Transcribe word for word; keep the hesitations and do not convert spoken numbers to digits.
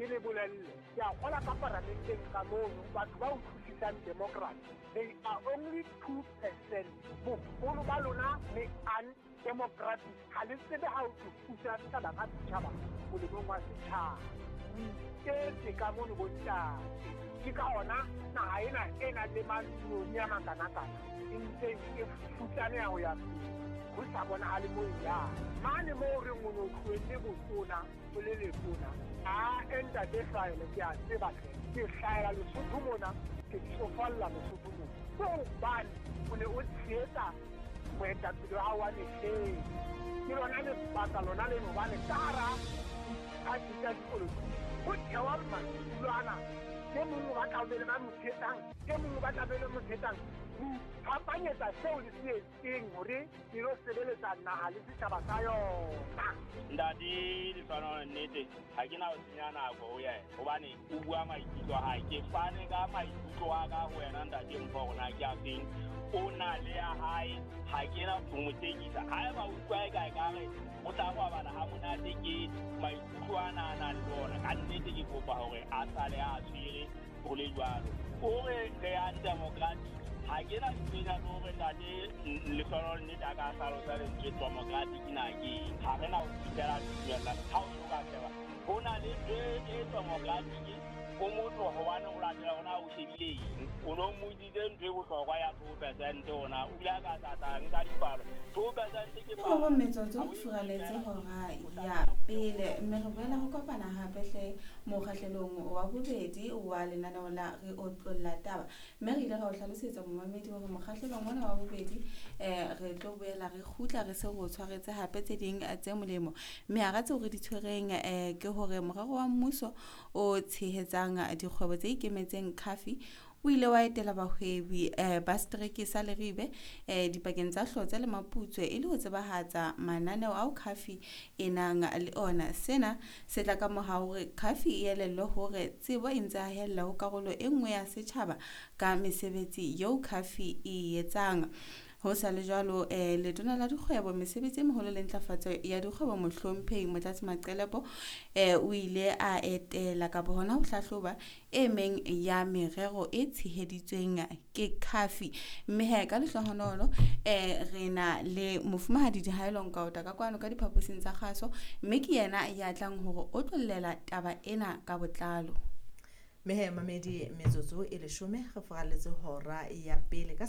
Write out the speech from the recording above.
Ke le bolelle, ke a kgola ka paramenteng ka mono batho ba utlwisisang democracy, they are only two percent. Boholo ba lona le undemocratic, ha le tsebe ha o thusa setjhaba ka setjhaba molemong wa setjhaba. O iketse ka mono bontate. Ke ka hona naha ena e nang le mantsione a makanakana e ntseng e futsaneha ho ya pele, ho sa bonahale moo e yang. Mane moo re o no tlohelle botona o le letona, a ntate Hlwaele ke a tseba hle, ke hlahela Lesotho mona, ke tsofalla Lesotho mona. Ke hobane o ne o tshehetsa moetapele wa hao wa mehleng. Ke lona lebaka lona leno hobane ka hara diphathi tsa dipolotiki ho thewa madulo ana. E mong o batla ho be le ba mo tshehetsang, e mong o batla be le mo tshehetsang. Ho iphapanyetsa seo le se etseng hore le lo sebeletsa naha le setjhaba sa yona. Ntate Lehlohonolo, nnete ha ke na ho senya nako ho yena hobane o bua maikutlo a hae. Ke fane ka maikutlo a ka ho wena ntate Mpho hore na ke a feng. O na le ya hae, ha ke na ho mo tekisa. Haeba o utlwa eka ekare o tla robala ha monate ke maikutlo ana a nang le ona, ka nnete ke kopa hore a sale a tshwere ho le jwalo. O re re undemocratic, ha ke na ntho le hore ntate Lehlohonolo nnete a ka hlalosa lentswe democratic na ke eng. Ha re na ho fihlela tumellano. Ha o so ka sheba, ho na le ntho e democratic o motho hobane o latela hore na o shebile eng. O no mmotsitse ntho e bohlokwa ya two percent hona, o ile a ka tla nka dipalo. Two percent ke Ke robong metsotso ho furaletse hora ya pele, mme re boela ho kopana hape hle mokgahlelong wa bobedi wa lenaneo la Re Otlolla Taba. Mme re ile ra o hlalosetsa momamedi hore mokgahlelong ona wa bobedi eh re tlo boela re kgutla re se re o tshwaretse hape tse ding tse molemo. Mme hara tseo re di tshwereng eh ke hore morero wa mmuso o tshehetsang dikgwebo tse ikemetseng C A F I o ile wa etela bahwebi eh, ba setereke sa Leribe eh, dipakeng tsa Hlotse le Maputswe e le ho tsebahatsa mananeo ao C A F I e nang le ona. Sena se tla ka mora hore C A F I e elellwe hore tsebo e ntse hahella ho karolo e nngwe ya setjhaba ka mesebetsi eo C A F I e etsang. Ho sa le jwalo, eh, letona la dikgwebo, mesebetsi e meholo le ntlafatso ya dikgwebo, mohlomphehi Motlatsi Maqelepo, eh, o ile a etela kapa hona ho hlahloba e meng ya merero e tsheheditsweng ke C A F I. Mme he ka lehlohonolo eh, re na le mofumahadi Dihaelo Nkaota ka kwano ka diphaposing tsa kgaso, mme ke yena ya tlang hore o tlollela taba ena ka botlalo. Mme he mamedi, metsotso e leshome re furaletse hora ya pele ka